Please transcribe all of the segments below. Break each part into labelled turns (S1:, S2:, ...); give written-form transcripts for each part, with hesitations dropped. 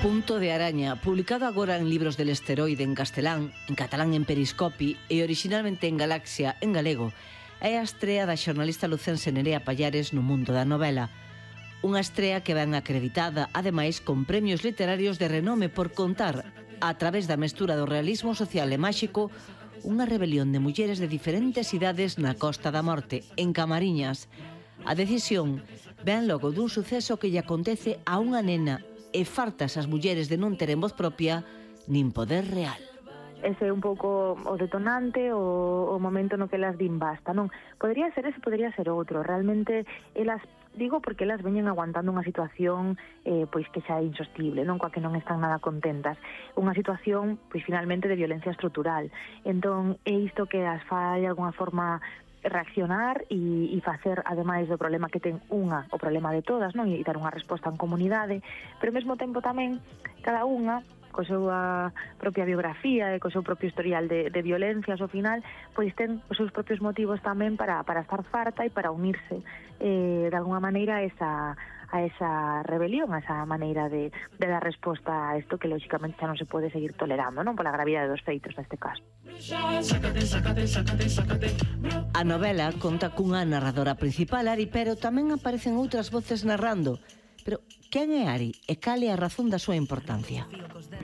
S1: Punto de araña, publicado agora en Libros del Esteroide en castelán, en catalán en Periscopi e originalmente en Galaxia en galego, é a estrea da xornalista lucense Nerea Pallares no mundo da novela. Unha estrea que ven acreditada, ademais, con premios literarios de renome por contar, a través da mestura do realismo social e máxico, unha rebelión de mulleres de diferentes idades na Costa da Morte, en Camariñas. A decisión ven logo dun suceso que lle acontece a unha nena e fartas as mulleres de non teren voz propia nin poder real.
S2: Ese é un pouco o detonante, o momento no que elas din basta, non? Podría ser ese, podría ser outro. Realmente, elas, digo porque elas veñen aguantando unha situación pois que xa é insostible, non? Coa que non están nada contentas. Unha situación, pois finalmente, de violencia estrutural. Entón, é isto que as fai de alguna forma reaccionar e facer, ademais do problema que ten unha, o problema de todas, non? E dar unha resposta en comunidade, pero ao mesmo tempo tamén cada unha co súa propia biografía e co seu propio historial de violencias ao final, pois ten os seus propios motivos tamén para estar farta e para unirse de alguna maneira a esa rebelión, a esa maneira de dar resposta a isto que lógicamente xa non se pode seguir tolerando, non? Pola gravidade dos feitos neste caso.
S1: A novela conta cunha narradora principal, Ari, pero tamén aparecen outras voces narrando. Pero quen é Ari e cal é a razón da súa importancia?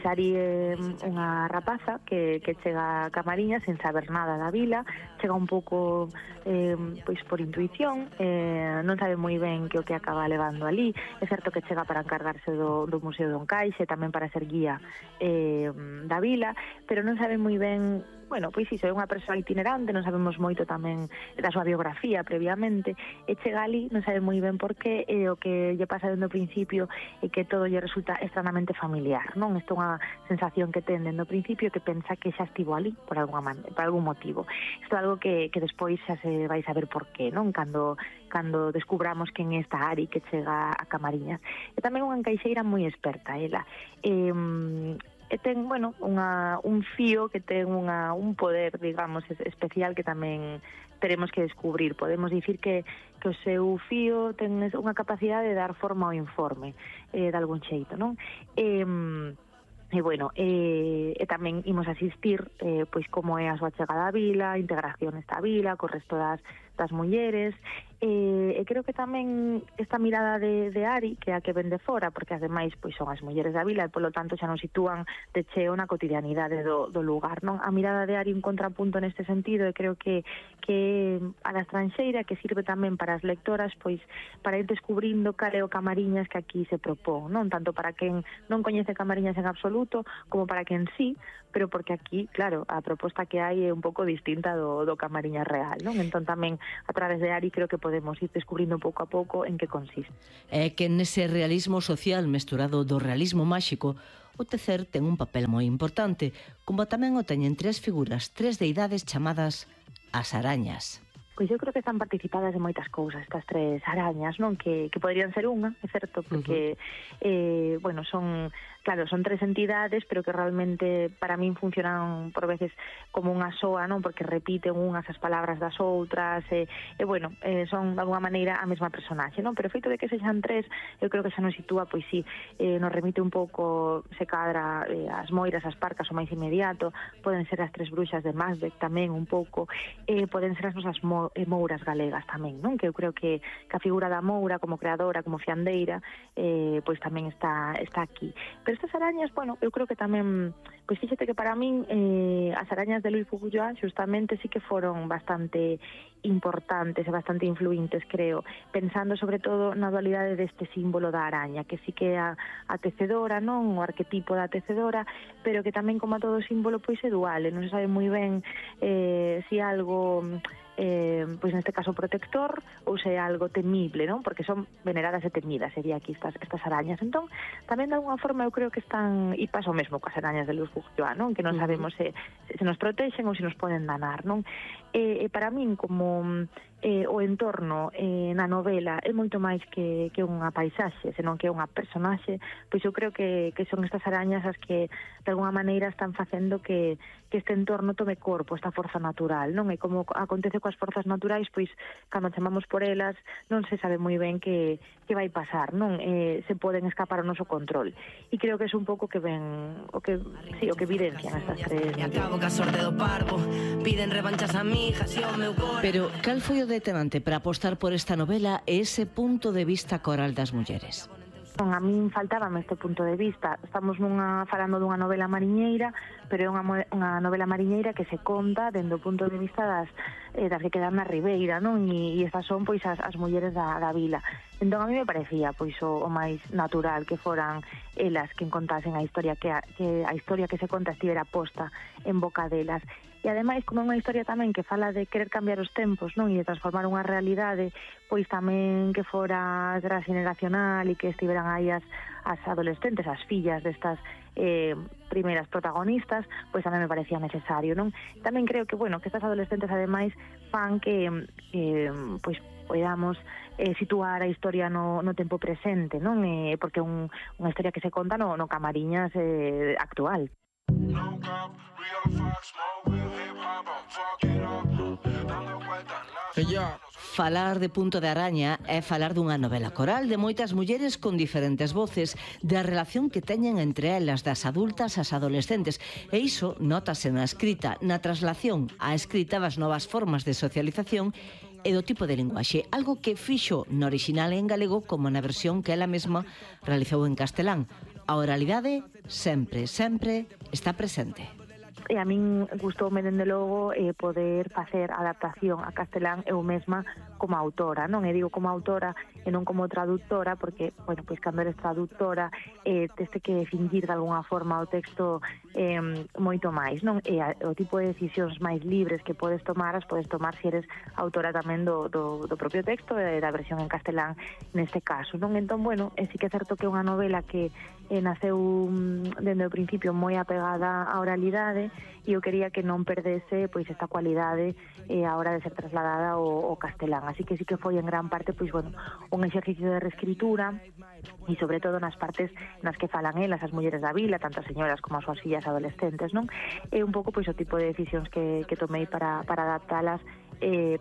S2: Ari é unha rapaza que chega a Camariñas sen saber nada da vila, chega un pouco pois por intuición, non sabe moi ben que o que acaba levando ali. É certo que chega para encargarse do Museo do Encaixe, tamén para ser guía da vila, pero non sabe moi ben. Bueno, pois iso, é unha persoa itinerante, non sabemos moito tamén da súa biografía previamente, e chega ali, non sabe moi ben por qué, e o que lle pasa dende o principio é que todo lle resulta estranamente familiar, non? Isto é unha sensación que ten dende o principio, que pensa que xa estivo ali por algún motivo. Isto é algo que despois xa se vai saber por qué, non? Cando descubramos quen é esta Ari que chega a Camariñas. E tamén unha encaixeira moi experta, ela. E ten, bueno, un fío que ten un poder, digamos, especial que tamén teremos que descubrir. Podemos dicir que o seu fío ten unha capacidade de dar forma ao informe, de algún xeito, non? E bueno, tamén imos asistir pois como é a súa chegada á vila, a integración nesta vila, co resto das mulleres, e creo que tamén esta mirada de Ari, que é a que ven de fora, porque ademais pois son as mulleres da vila e polo tanto xa nos sitúan de cheo na cotidianidade do lugar, non? A mirada de Ari un contrapunto neste sentido, e creo que a da estranxeira, que sirve tamén para as lectoras, pois para ir descubrindo cal é o Camariñas que aquí se propón, non? Tanto para quen non coñece Camariñas en absoluto, como para quen sí, pero porque aquí, claro, a proposta que hai é un pouco distinta do Camariñas real, non? Entón tamén a través de Ari creo que podemos ir descubrindo pouco a pouco en que consiste.
S1: É que nese realismo social mesturado do realismo máxico, o tecer ten un papel moi importante, como tamén o teñen tres figuras, tres deidades chamadas as arañas.
S2: Pois eu creo que están participadas en moitas cousas estas tres arañas, non? Que poderían ser unha, é certo, porque bueno, son tres entidades, pero que realmente para min funcionan por veces como unha soa, non? Porque repiten unhas as palabras das outras, e bueno, son de alguma maneira a mesma personaxe, non? Pero o feito de que sexan tres, eu creo que xa nos sitúa, pois sí, nos remite un pouco, se cadra as moiras, as parcas, o máis inmediato, poden ser as tres bruxas de Macbeth tamén un pouco, poden ser as nosas mouras galegas tamén, non? Que eu creo que a figura da moura como creadora, como fiandeira, pois tamén está aquí. Pero estas arañas, bueno, eu creo que tamén, pois fíxate que para min as arañas de Louis Bourgeois justamente sí que foron bastante importantes e bastante influintes, creo, pensando sobre todo na dualidade deste símbolo da araña, que sí que é a tecedora, non? O arquetipo da tecedora, pero que tamén, como a todo símbolo, pois é dual, e non se sabe moi ben se algo pois neste caso protector ou se é algo temible, non? Porque son veneradas e temidas, sería aquí estas arañas. Entón, tamén de alguna forma eu creo que están, e pasa o mesmo coas arañas de Louis Bourgeois, non? Que non sabemos se nos protexen ou se nos poden danar, non? E para min, como o entorno na novela é moito máis que unha paisaxe, senón que é unha personaxe, pois eu creo que son estas arañas as que de alguna maneira están facendo que este entorno tome corpo, esta forza natural, non? E como acontece coas forzas naturais, pois cando chamamos por elas non se sabe moi ben que vai pasar, non? Se poden escapar ao noso control. E creo que é un pouco que ven o que evidencian estas tres.
S1: Pero cal foi o detonante para apostar por esta novela e ese punto de vista coral das mulleres?
S2: A min faltábame este punto de vista. Estamos falando dunha novela mariñeira, pero é unha novela mariñeira que se conta dende o punto de vista das que quedan na ribeira, non? E estas son pois as mulleres da vila. Entón a mí me parecía pois o máis natural que foran elas que contasen a historia, que a historia que se conta estivera posta en boca delas. E ademais, como é unha historia tamén que fala de querer cambiar os tempos, non? E de transformar unha realidade, pois tamén que fora transgeneracional e que estiveran aí as adolescentes, as fillas destas primeiras protagonistas, pois tamén me parecía necesario, non? Tamén creo que, que estas adolescentes ademais fan que pois podamos situar a historia no tempo presente, non? Porque é unha historia que se conta no Camariñas actual.
S1: Falar de Punto de Araña é falar dunha novela coral de moitas mulleres con diferentes voces, da relación que teñen entre elas, das adultas ás adolescentes, e iso nótase na escrita, na traslación á escrita das novas formas de socialización e do tipo de linguaxe, algo que fixo no orixinal en galego como na versión que ela mesma realizou en castelán. A oralidade sempre está presente.
S2: E a min gustoume, dende logo, poder facer adaptación a castelán eu mesma como autora, non? E digo como autora e non como traductora, porque, pois cando eres traductora teste que fingir de alguna forma o texto moito máis, non? E o tipo de decisións máis libres que podes tomar, as podes tomar se eres autora tamén do propio texto e da versión en castelán neste caso, non? Entón, sí que é certo que é unha novela que naceu dende o principio moi apegada á oralidade e eu quería que non perdese pois esta cualidade a hora de ser trasladada ao castelán. Así que sí que foi en gran parte un exercicio de reescritura e sobre todo nas partes nas que falan elas, as mulleres da vila, tanto as señoras como as súas fillas adolescentes, non? É un pouco pois o tipo de decisións que tomei para adaptalas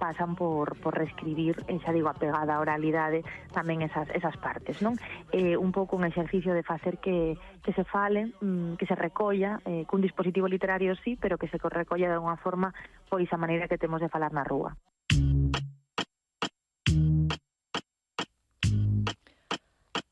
S2: pasan por reescribir, xa digo, apegada á oralidade tamén esas partes, non? Un pouco un exercicio de facer que se fale, que se recolla cun dispositivo literario sí, pero que se recolla de unha forma pois a maneira que temos de falar na rúa.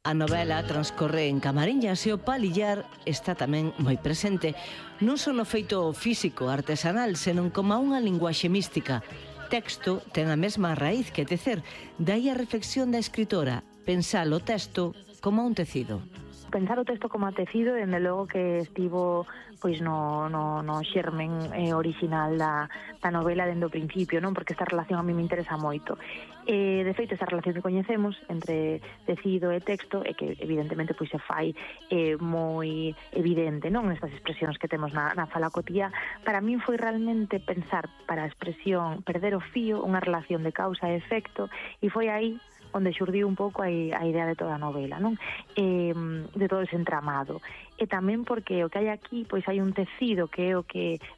S1: A novela transcorre en Camariñas e o palillar está tamén moi presente, non só no feito físico artesanal, senón como unha linguaxe mística. Texto ten a mesma raíz que tecer, dai a reflexión da escritora, pensar o texto como un tecido.
S2: Pensar o texto como a tecido, dende logo que estivo pois no xermen orixinal da novela dende o principio, non? Porque esta relación a mí me interesa moito. De feito, esta relación que coñecemos entre tecido e texto é que evidentemente pois se fai moi evidente, non? Nestas expresións que temos na fala cotía. Para min foi realmente pensar para a expresión perder o fío, unha relación de causa e efecto, e foi aí onde xurdiu un pouco a idea de toda a novela, non? De todo ese entramado. E tamén porque o que hai aquí, pois hai un tecido que é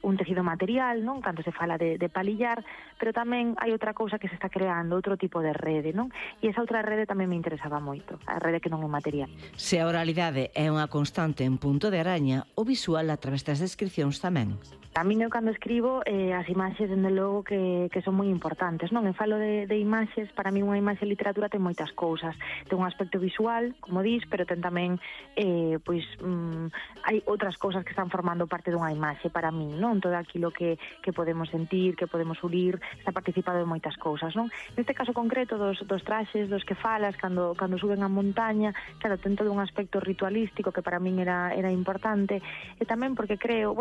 S2: un tecido material, non? Cando se fala de palillar, pero tamén hai outra cousa que se está creando, outro tipo de rede, non? E esa outra rede tamén me interesaba moito, a rede que non é material.
S1: Se a oralidade é unha constante en Punto de Araña, o visual a través das descripcións tamén.
S2: A min eu cando escribo as imaxes, dende logo, que son moi importantes, non? E falo de imaxes, para mí unha imaxe en literatura ten moitas cousas. Ten un aspecto visual, como dis, pero ten tamén, hai outras cousas que están formando parte dunha imaxe para min, non? Todo aquilo que podemos sentir, que podemos unir, está participado en moitas cousas, non? Neste caso concreto dos traxes dos que falas, cando suben a montaña, claro, ten todo un aspecto ritualístico que para min era importante, e tamén porque creo,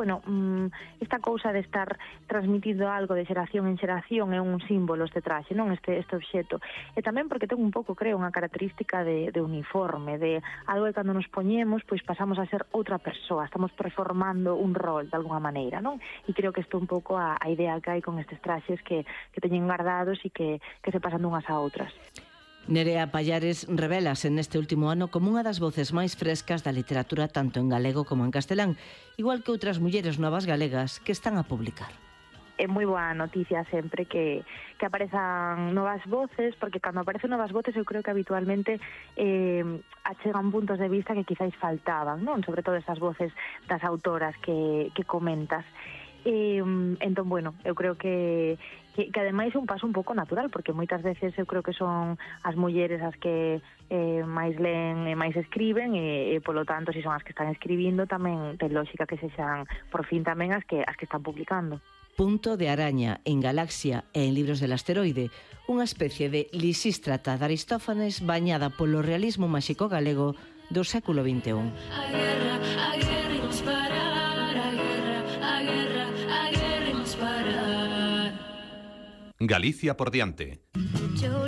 S2: esta cousa de estar transmitindo algo de xeración en xeración é un símbolo este traxe, non? Este obxeto. E tamén porque ten un pouco, creo, unha característica de uniforme, de algo que cando nos poñemos, pois pasamos a ser outra persoa, estamos performando un rol de alguna maneira, non? E creo que isto un pouco a idea que hai con estes traxes que teñen guardados e que se pasan dunhas a outras.
S1: Nerea Pallares revelase neste último ano como unha das voces máis frescas da literatura tanto en galego como en castelán, igual que outras mulleres novas galegas que están a publicar.
S2: É moi boa noticia sempre que aparezan novas voces, porque cando aparecen novas voces eu creo que habitualmente achegan puntos de vista que quizáis faltaban, non? Sobre todo esas voces das autoras que comentas. Entón, bueno, eu creo que ademais é un paso un pouco natural, porque moitas veces eu creo que son as mulleres as que máis leen e máis escriben e polo tanto, se son as que están escribindo, tamén ten lógica que sexan por fin tamén as que están publicando.
S1: Punto de araña en Galaxia e en Libros del Asteroide, unha especie de Lisístrata de Aristófanes bañada polo realismo máxico galego do século XXI.
S3: Galicia por diante.